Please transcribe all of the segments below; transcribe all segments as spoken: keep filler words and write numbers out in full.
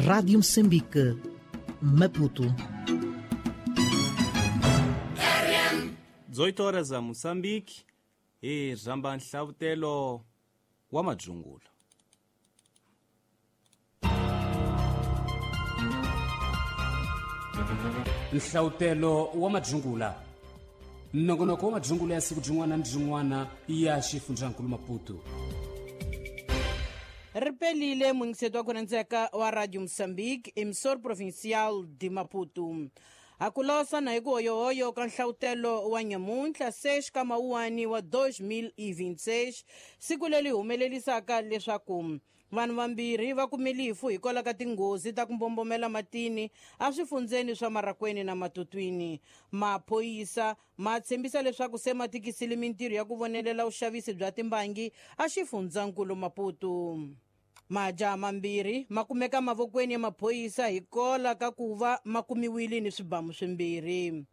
Rádio Moçambique, Maputo. dezoito horas a Moçambique e ramba nhlavutelo wa madzungula. Nhlavutelo wa madzungula. Nongonoko wa madzungula ya siku jin'wana ni jin'wana ya xifundzankulu Maputo. Ripelile mungiseto wa kunandzeka wa Radio Moçambique, emissor provincial de Maputo. Akulosa na hiku hoyohoyo ka nhlawutelo wa nyamuntlha seis ka mawuwani wa dois mil e vinte e seis, siku leri humelelisaka leswaku vanhu vambirhi va kumile rifu hikwalaho ka tinghozi ta ku mbombomela matini eswifundzeni swa Marracuene na Matutuine. Maphorisa ma tshembisa leswaku se ma tikisile mintirho ya ku vonelela vuxavisi bya timbangi exifundzankulu Maputo. Majaha mambirhi ma kumeka mavokweni ya maphorisa hikwalaho ka ku va ma kumiwile ni swibamu swimbirhi.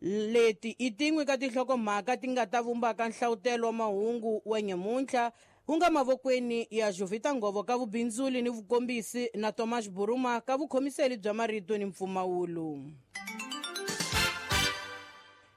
Leti i tin'we ka tinhlokomhaka ti nga ta vumbaka nhlawutelo wa mahungu wa nyamuntlha wu nga mavokweni ya Jovita Ngovo ka vubindzuli ni vukombisi na Thomas Buruma ka vukhomiseli bya marito ni mpfumawulo.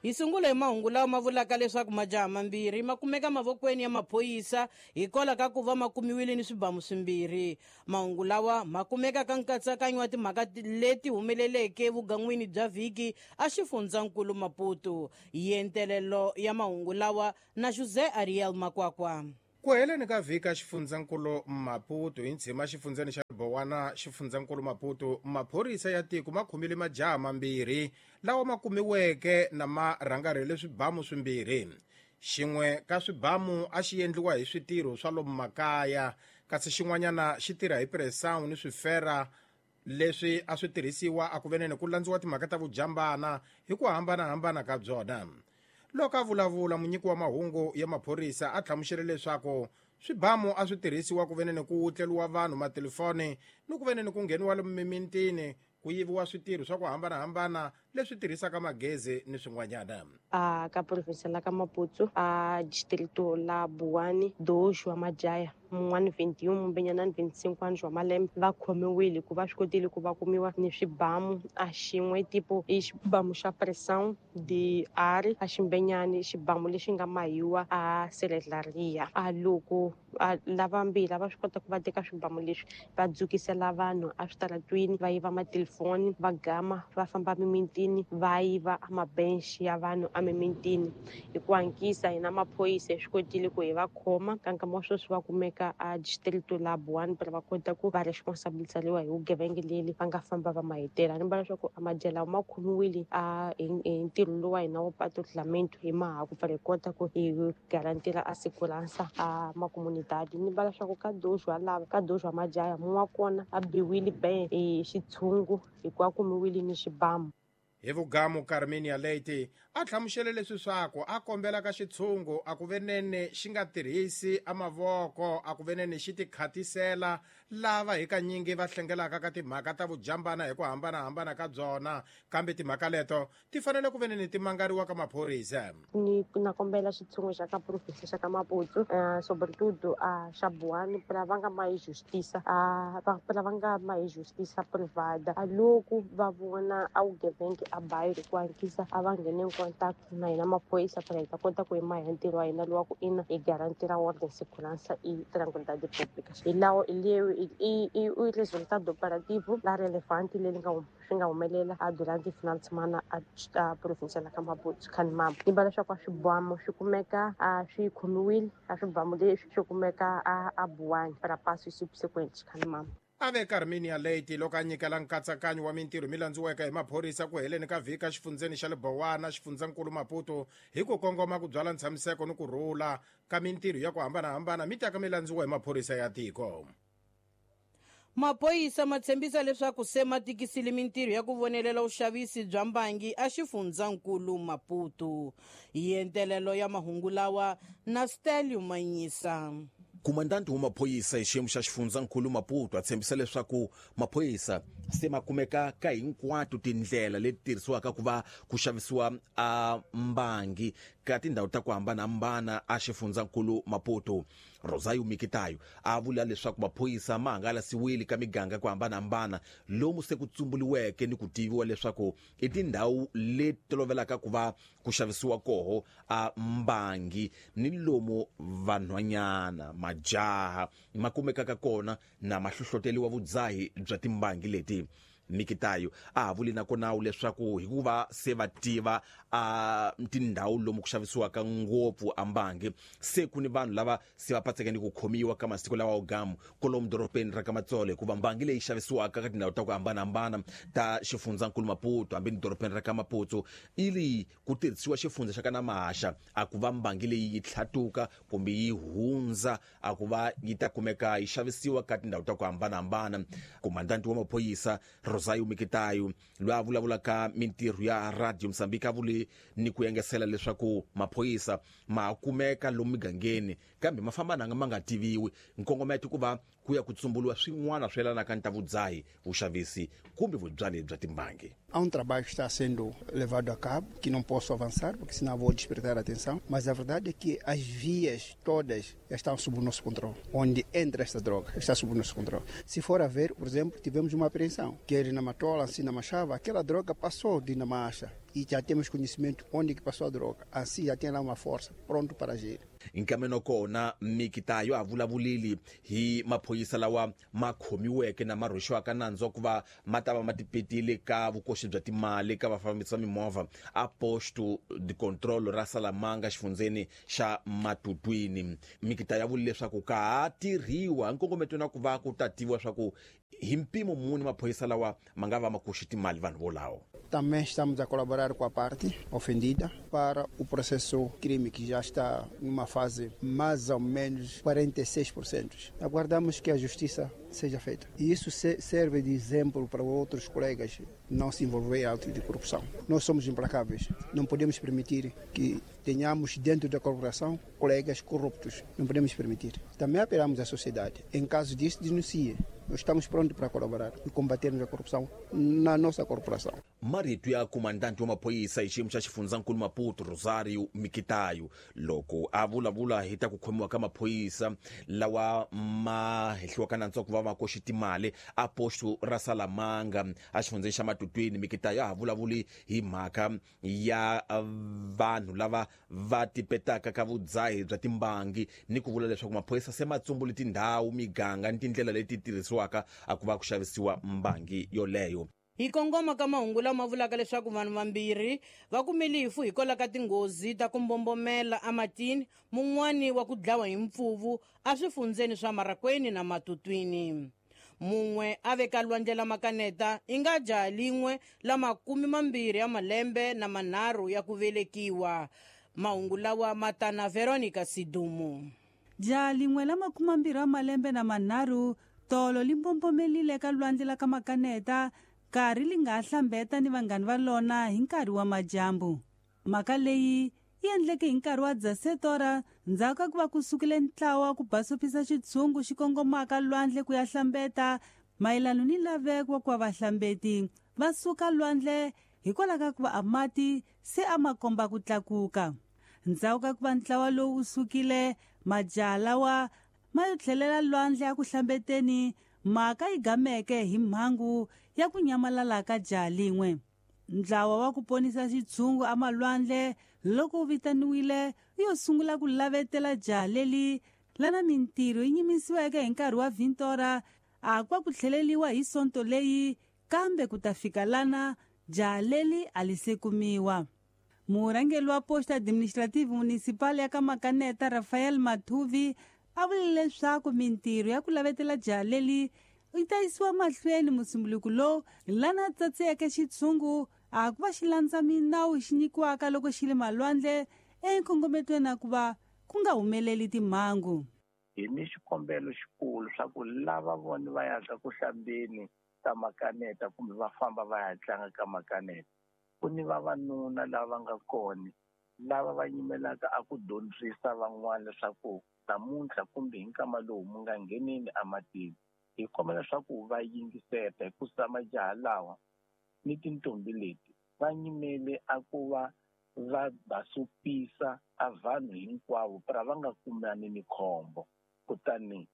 Hi sungula hi mahungu lawa ma vulaka leswaku majaha mambirhi ma kumeka mavokweni ya maphorisa hikwalaho ka ku va ma kumiwile ni swibamu swimbirhi. Mahungu lawa ma kumeka ka nkatsakanyo wa timhaka leti humeleleke vugan'wini bya vhiki exifundzankulu Maputo. Yentelelo ya mahungu lawa na José Ariel Makwakwa. Ku heleni ka vhiki xifundzankulu Maputo hi ntshima xifundzeni xa Bowana xifundzankulu Maputo, maphorisa ya tiko ma khomile majaha mambirhi lawa ma kumiweke na ma rhangarhele swibamu swimbirhi. Xin'we ka swibamu a xi endliwa hi switirho swa lomu makaya, kasi xin'wanyana xi tirha hi pressão ni swifera leswi a swi tirhisiwa a ku veneni ku landziwa timhaka ta vujambana hi ku hambanahambana ka byona. Loko a vulavula munyiki wa mahungu ya maphorisa a hlamusele leswaku swibamu a swi tirhisiwa ku veneni ku wutleriwa vanhu matelefoni ni ku veneni ku ngheniwa lomu mimintini ku yiviwa switirho swa ku hambanahambana leswi tirhisaka magezi ni swin'wanyana. A ka province la ka Maputo a distrito la Boane dois wa Majaya mun'wana vinte e um mumbenyana vinte e cinco anos wa malembe va khomiwile ku va swi kotile ku va kumiwa ni swibamu a xin'we tipo i xibamu xa pressão de ar a ximbenyani xibamu lexi nga mahiwa a seledlaria. A loko lavambirhi va swi kota ku va teka swibamu leswi va dzukisela vanhu eswitaratwini va yiva matelefoni va gama va famba mimintini va yiva amabench ya vanhu emimintini. Hi ku hankisa hina maphorisa hi swi kotile ku hi va khoma ka nkama wa sweswi va kumeka a distrito la Boane para va kota ku va responsabilizariwa hi vugevenga leri va nga famba va mahetela. Ni vula leswaku amajela ma khomiwile a hi ntirho lowu wa hina wo patrulhamento hi mahaku para hi kota ku hi garantira a segurança a makomunidade. Ni vula leswaku ka dois wa lava ka dois wa majaya mun'we wa kona a biwile be hi xitshungu hikuva kumiwile ni xibamu. Hi vugamu Carmenia Leite a hlamusele leswi swaku a kombela ka xitshungu a ku venene xi nga tirhisi a mavoko a ku venene xi tikhatisela lava hi kanyingi va hlengelaka ka timhaka ta vujambana hi ku hambanahambana ka byona, kambe timhaka leto ti fanele ku venene ti mangariwa ka maphorisa. Ni na kombela xitshungu xa ka province xa ka Maputo sobretudo a xa Boane para va nga ma hi justiça a para va nga ma hi justiça privada. A loko va vona a vugevenga a bairro ku hankisa a va nghene contact na hina maphorisa para hi ta kota ku yima hi ntirho wa hina lowa ku ina hi garantira ordem segurança e tranquilidade pública. Hi lawo i i i resultado operativo la relevante leri nga swi nga humelela a durante final de semana a a província la ka Maputo Khanimama. Ni vula leswaku a swibamu swi kumeka a swi khomiwile a swibamu leswi swi kumeka a a Boane para passo subsequente Khanimama. A ve Carmenia Leite loko a nyikela nkatsakanyo wa mintirho mi landziweke hi maphorisa ku heleni ka vhiki exifundzeni xa le Bowana xifundzankulu Maputo hi ku kongoma ku byala ntshamiseko ni ku rhula ka mintirho ya ku hambanahambana mi taka mi landziwa hi maphorisa ya tiko. Maphorisa ma tshembisa leswaku se ma tikisile mintirho ya ku vonelela vuxavisi bya mbangi exifundzankulu Maputo. Yentelelo ya mahungu lawa na Stelio Manyisa. Komandante wa maphorisa hi xiyimo xa xifundzankulu Maputo a tshembisa leswaku maphorisa se ma kumeka ka hinkwato tindlela leti tirhisiwaka ku va ku xavisiwa a mbangi ka tindhawu ta ku hambanahambana a xifundzankulu Maputo. Rosario Mikitayo a vula leswaku maphorisa ma hangalasiwile ka miganga ku hambanahambana lomu se ku tsumbuliweke ni ku tiviwa leswaku i tindhawu leti tolovelaka ku va ku xavisiwa koho a mbangi ni lomu vanhwanyana majaha ma kumekaka kona na mahlohloteliwa vudzahi bya timbangi leti. Mikitayo a vuli na kona leswaku hikuva se va tiva a tindhawu lomu ku xavisiwaka ngopfu ambangi se ku ni vanhu lava se va patseke ni ku khomiwa ka masiku lawa gamu kolomu doropeni ra ka Matsolo, hikuva mbangi leyi xavisiwaka ka tindhawu ta ku hambanahambana ta xifundzankulu Maputo hambi ni doropeni ra ka Maputo ili ku tirhisiwa xifundza xa ka Namaxa a ku va mbangi leyi yi tlhatuka kumbe yi hundza a ku va yi ta kumeka yi xavisiwa ka tindhawu ta ku hambanahambana. Komandanti wa maphorisa Rosario Mikitayo loyi a vulavulaka mintirho ya Radio Mozambique a vule ni ku engesela leswaku maphorisa ma kumeka lomu migangeni kambe ma famba nanga ma nga tiviwi, nkongometo ku va ku ya ku tsumbuliwa swin'wana swi yelanaka ni ta vudzahi, vuxavisi kumbe vubyali bya timbangi. Há um trabalho que está sendo levado a cabo, que não posso avançar, porque senão vou despertar a atenção, mas a verdade é que as vias todas estão sob o nosso controle. Onde entra esta droga está sob o nosso controle. Se for a ver, por exemplo, tivemos uma apreensão, quer na Matola, assim na Machava, aquela droga passou de Namacha e já temos conhecimento onde que passou a droga. Assim já tem lá uma força pronto para agir. Nkameno kona Mikitayo a vulavulile hi maphorisa lawa ma khomiweke na ma rhwexiwaka nandzu wa ku va ma ta va ma tipetile ka vukoxi bya timali ka vafambisi va mimovha a posto de control ra Salamanga xifundzeni xa Matutwini. Mikitayo a vule leswaku ka ha tirhiwa nkongometo na ku va ku ta tiviwa swa ku hi mpimo muni maphorisa lawa ma nga va ma koxi timali vanhu volawo. Também estamos a colaborar com a parte ofendida para o processo crime que já está numa fase mais ou menos quarenta e seis por cento. Aguardamos que a justiça seja feita. E isso serve de exemplo para outros colegas não se envolver em atos de corrupção. Nós somos implacáveis. Não podemos permitir que tenhamos dentro da corporação colegas corruptos. Não podemos permitir. Também apelamos à sociedade. Em caso disso, denuncie. Nós estamos prontos para colaborar e combatermos a corrupção na nossa corporação. Marito ya comandante wa maphorisa hi xiyimo xa xifundzankulu Maputo Rosario Mikitayo loko a vulavula hi ta ku khomiwa ka maphorisa lawa ma hehliwaka nandzu wa ku va va koxi timali a posto ra Salamanga a xifundzeni xa Matutwini. Mikitayo a ha vulavuli hi mhaka ya vanhu lava va tipetaka ka vudzahi bya timbangi ni ku vula leswaku maphorisa se ma tsumbule tindhawu, miganga ni tindlela leti tirhisiwaka a ku va ku xavisiwa mbangi yoleyo. Hi kongoma ka mahungu lama vulaka leswaku vanhu vambirhi va kumile rifu hikwalaho ka tinghozi ta ku mbombomela ematini, mun'wani wa ku dlawa hi mpfuvu eswifundzeni swa Marakweni na Matutwini. Mun'we a veka lwandle la Makaneta i nga jaha lin'we la makumi mambirhi ya malembe na manharhu ya ku velekiwa. Mahungu lawa ma ta na Veronica Sidumo. Jaha lin'we la makumi mambirhi ya malembe na manharhu tolo li mbombomelile ka lwandle la ka Makaneta nkarhi li nga hlambeta ni vanghani va lona hi nkarhi wa majambu. Mhaka leyi yi endleke hi nkarhi wa dzasetora ndzhaku ka ku va ku sukile ntlawa ku basopisa xitshungu xi kongomaka lwandle ku ya hlambeta mayelano ni laveko wa ku va vahlambeti va suka lwandle hikwalaho ka ku va a mati se a ma komba ku tlakuka. Ndzhaku ka ku va ntlawa lowu wu sukile, majaha lawa ma yo tlhelela lwandle a ku hlambeteni, mhaka yi gameke hi mhangu ya ku nyamalala ka jaha lin'we. Ntlawa wa ku ponisa xitshungu emalwandle loko wu vitaniwile wu yo sungula ku lavetela jaha leli lana mintirho yi nyimisiweke hi nkarhi wa vintora a kwa ku tlheleliwa hi sonto leyi, kambe ku ta fika lana jaha leli a li se kumiwa. Murhangeri wa posta administrative municipal ya ka Makaneta Rafael Mathuvi a vule leswaku mintirho ya ku lavetela jaha leli yi ta yisiwa mahlweni musumbuluku lowu lana tsatseke xitshungu a ku va xi landza minawu xi nyikiwaka loko xi le malwandle enkongometweni a ku va ku nga humeleli timhangu. Hi ni xikombelo xikulu swa ku lava vona va yaka ku hlambeni ka Makaneta kumbe va famba va ya tlanga ka Makaneta, ku ni vavanuna lava nga kona lava va yimelaka a ku dyondzisa van'wana leswaku namuntlha kumbe hi nkama lowu mu nga ngheneni ematini. Hi kombela leswaku va yingiseta hikusa majaha lawa ni tintombi leti va nyimele a ku va va basopisa a vanhu hinkwavo para va nga kumani ni khombo. Kutani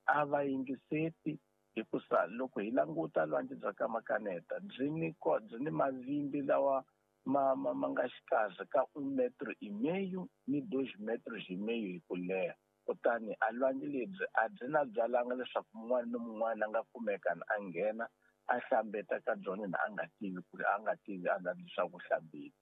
a va yingiseti hikusa loko hi languta lwandle bya ka Makaneta byi ni byi ni mavimbi lawa ma ma ma nga xikarhi ka un metro e meio ni dois metros e meio hi ku leha. Kutani a lwandle lebyi a byi na byalanga leswaku mun'wana ni mun'wana a nga kumeka a nghena a hlambeta ka byona na a nga tivi ku ri a nga tivi a nga leswaku hlambile.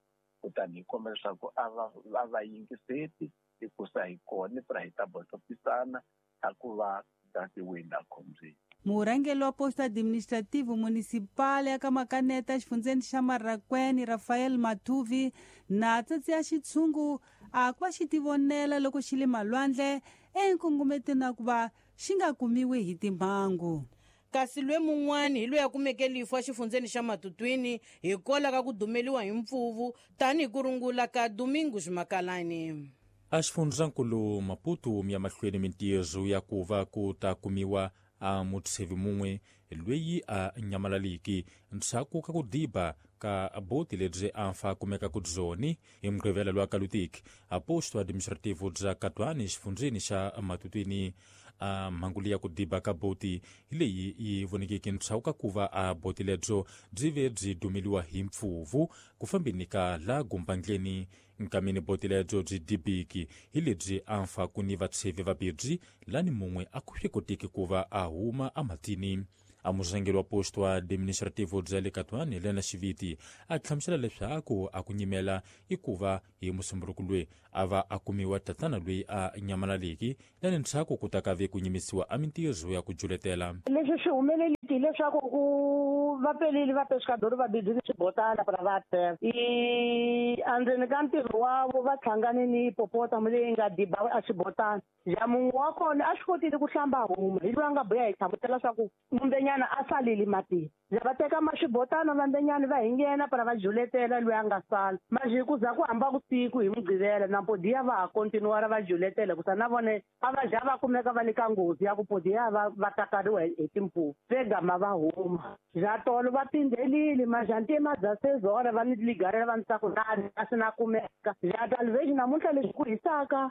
Kutani hi kombela leswaku a va va va yingiseti hikusa hi kona pra hi ta botopisana a ku va datiwini a khombyeni. Murhangeri wa Posto Administrativo Municipal ya ka Makaneta xifundzeni xa Marracuene Rafael Mathuvi na tsatsi ya xitshungu a ku va xi tivonela loko xi le malwandle enkongometweni na ku va xi nga kumiwi hi timhangu. Kasi lwe mun'wani hi loyi a kumeke lifu exifundzeni xa Matutwini hikwalaho ka ku dumeliwa hi mpfuvu tanihi ku rungula ka Domingos Makalani. A xifundzankulu Maputo ya mahlweni mintirho ya ku va ku ta kumiwa a mutshevi mun'we loyi a nyamalaliki ndzhaku ka ku diba ka boti lebyi a fa kumeka ku byoni hi Mugqivela lwa Kalutiki a posto administrativo bya Katwani xifundzeni xa Matutwini. A mhangu leyi ya ku diba ka boti hi leyi yi vonekeke ndzhaku ka ku va a boti lebyo byi ve byi dumeliwa hi mpfuvu ku fambeni ka la gumbandleni. Nkamini boti lebyo byi dibiki hi lebyi a fa ku ni vatshevi vabirhi lani mun'we a ku swi koteki ku va a huma ematini. A murhangeri wa posto administrativo bya le Katwani Helena Xiviti a hlamusela leswaku a ku nyimela i ku va hi Musumbunuko loyi a va a kumiwa tatana loyi a nyamalaliki lani ndzhaku ku ta ka ve ku nyimisiwa a mintirho ya ku juletela. Leswi swi humeleliki hileswaku ku va pelile va pescador va bidini swibotana para va teka i andzeni ka ntirho wavo va hlangane ni hipopotamo leyi nga diba a xibotana. Ja munhu wa kona a swi kotile ku hlamba huma hi loyi a nga buya hi hlamusela swa ku mumbenyana a salile matini. Ja va teka maxibotana vambenyana va hingena para va juletela loyi a nga sala maji ku za ku hamba vusiku hi Mugqivela na podiya va ha kontinuara va juletela ku sa na vone a va ja va kumeka va le ka nghozi ya ku podiya va va takariwa hi timpfuvu se gama va huma. Ja tolo va pindzelile majantima bya sezora va ni ligarela va ni ku na a swi na kumeka. Ja talvez namuntlha leswi ku hisaka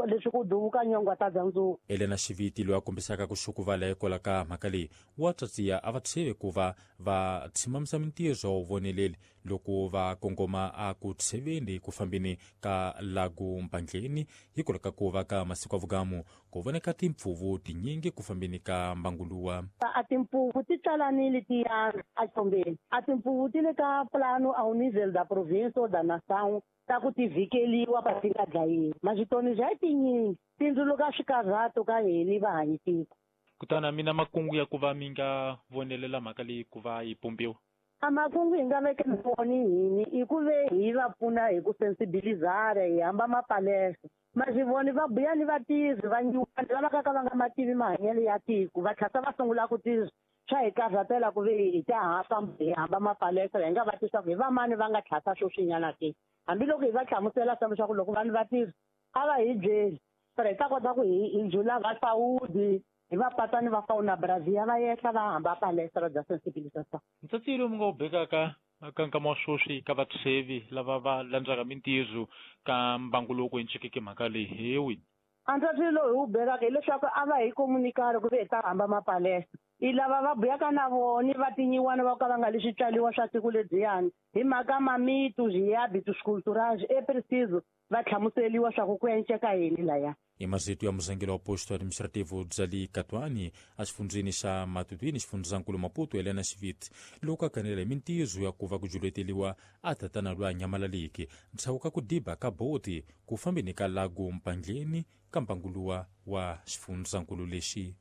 leswi ku duvuka nyongwa ta bya ndzuku. Helena Xiviti loyi a kombisaka ku xukuvala hikwalaho ka mhaka leyi wa tsatsiya a va tsheve ku va va tshimamisa mintirho wa voneleli loko va kongoma a ku tsheveni ku fambeni ka lagu mpandleni hikwalaho ka ku va ka masiku ya vugamu ku voneka timpfuvu tinyingi ku fambeni ka mbanguluwa. A timpfuvu ti tsalanile ti yana echombeni. A timpfuvu ti le ka plano ao nível da província ou da nação ta ku ti vhikeliwa pa ti nga dlayiwi. Maxitoni bya tinyingi tindzuluka swikarhato ka hini va hanyi tiko. Kutani mina makungu ya ku va mi nga vonelela mhaka leyi ku va yi pumbiwa. A makungu hi nga vekela voni hini i ku ve hi va pfuna hi ku sensibilizara hi hamba mapalesa. Maxivoni va buya ni vatirhi va nyuwana lava ka ka va nga mativi mahanyelo ya tiko va tlhasa va sungula ku tirha swa hi karhatela ku ve hi ta ha famba hi hamba mapalesa hi nga va tisa ku hi vamani va nga tlhasa swoswinyana ke. Hambiloko hi va hlamusela swa leswaku loko vanhu va tirha a va hi byeli para hi ta kota ku hi hi jula va saudi hi va patani va fauna Brazil va yehla va hamba palestra bya sensibilisation. Ntsatsi lowu mi nga wu bekaka ka nkama wa sweswi ka vatshevi lava va landzaka mintirho ka mbangu lowu ku encikeke mhaka leyi hi wihi? A ntsatsi lowu hi wu bekaka hileswaku a va hi komunikari ku ve hi ta hamba mapalestra. I lava va buyaka na vona va tinyiwana va ka va nga le switswaliwa swa tiko lebyiyani hi mhaka mamitu zvihabitus culturais é preciso va hlamuseliwa swa ku ku enceka yini laya. I mazito ya murhangeri wa posto administrativo bya le Katwani exifundzeni xa Matutwini xifundzankulu Maputo Helena Xiviti loko a kanela hi mintirho ya ku va ku juleteliwa a tatana loyi a nyamalaliki ndzhaku ka ku diba ka boti ku fambeni ka lagu mpandleni ka mbanguluwa wa xifundzankulu lexi.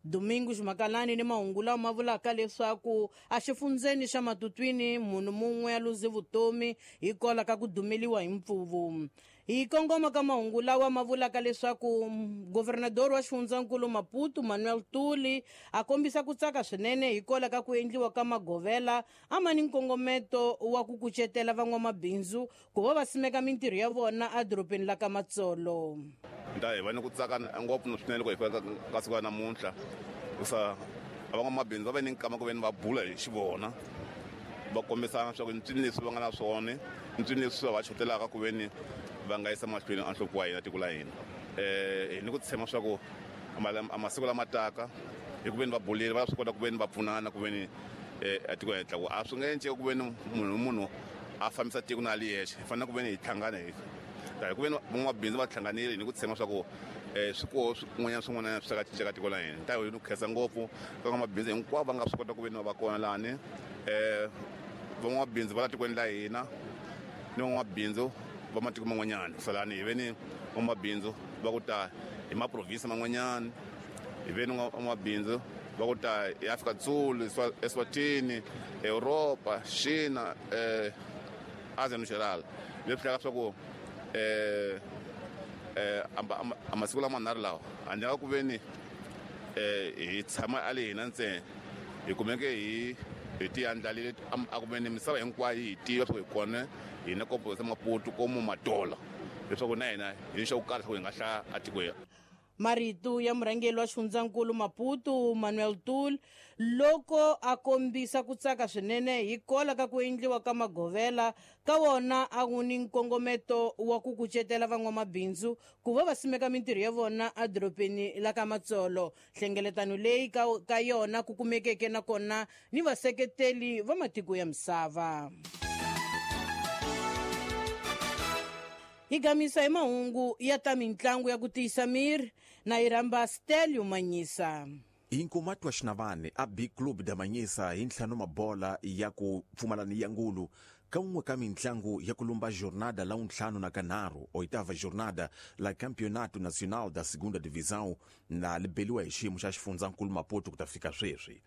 Domingos Makalani ni mahungu lawa ma vulaka leswaku exifundzeni xa Matutwini munhu mun'we a luze vutomi hikwalaho ka ku dumeliwa hi mpfuvu. Hi kongoma ka mahungu lawa ma vulaka leswaku governador wa xifundzankulu Maputo Manuel Tuli a kombisa ku tsaka swinene hikwalaho ka ku endliwa ka magovela a ma ni nkongometo wa ku kucetela van'wamabindzu ku va va simeka mintirho ya vona edorobeni la ka Matsolo. Nda hi va ni ku tsaka ngopfu swinene loko hi fika ka siku ra namuntlha hikusa van'wamabindzu va ve ni nkama ku ve ni va bula hi xivona va kombisana swa ku ncini leswi va nga na swona ncini leswi va xotelaka ku veni va nga yisa mahlweni a nhloko wa hina tiko la hina eh hi ni ku tshemba swa ku a masiku lama taka hi ku veni va bulile va swi kota ku veni va pfunana ku veni eh a tiko henhla ku a swi nga endleki ku veni munhu munhu a fambisa tiko na ali yexe hi fanele ku veni hi hlangana hi ta hi ku veni van'wamabindzu va hlanganile hi ni ku tshemba swa ku eh swikoho swin'wanyana swin'wana swi ka cinca ka tiko la hina ta hi ni ku khensa ngopfu ka van'wamabindzu hinkwavo va nga swi kota ku veni va kona lani eh van'wamabindzu va la tikweni la hina ni van'wamabindzu va matiko man'wanyana salani hi veni van'wamabindzu va ku ta hi maprovinsi man'wanyana hi veni van'wamabindzu va ku ta hi Afrika Dzulu Eswatini Europa China eh Asia no geral leswi hlaka swa ku eh eh a masiku lama nharhu lawa handle ka ku veni eh hi tshama a le hina ntsena hi kumeke hi hi ti andlalile a ku veni misava hinkwayo hi tiva swa ku hi kona hina kopo sa Maputo komo Matola leswaku na hina hi xa ku karhi swa ku hi nga hlaya a tikweni. Marito ya murhangeri wa xifundzankulu Maputo Manuel Tul loko a kombisa ku tsaka swinene hi kola ka ku endliwa ka magovela ka wona a wu ni nkongometo wa ku kucetela van'wamabindzu ku va va simeka mintirho ya vona edorobeni la ka Matsolo. Nhlengeletano leyi ka, ka yona ku kumekeke nakona ni vaseketeli va matiko ya misava. Hi gamisa hi mahungu ya ta mintlangu ya ku tiyisa miri na yi rhamba Stelio Manyisa. Inkomatwa xinavane a B Club da Manyisa hi ntlhanu mabola ya ku pfumalani ya ngulu ka un'we ka mintlangu ya ku lumba jornada la untlhanu na kanharhu oitava jornada la Campeonato Nacional da Segunda Divisão na libeliwa hi xiyimo xa xifundzankulu Maputo ku ta fika sweswi.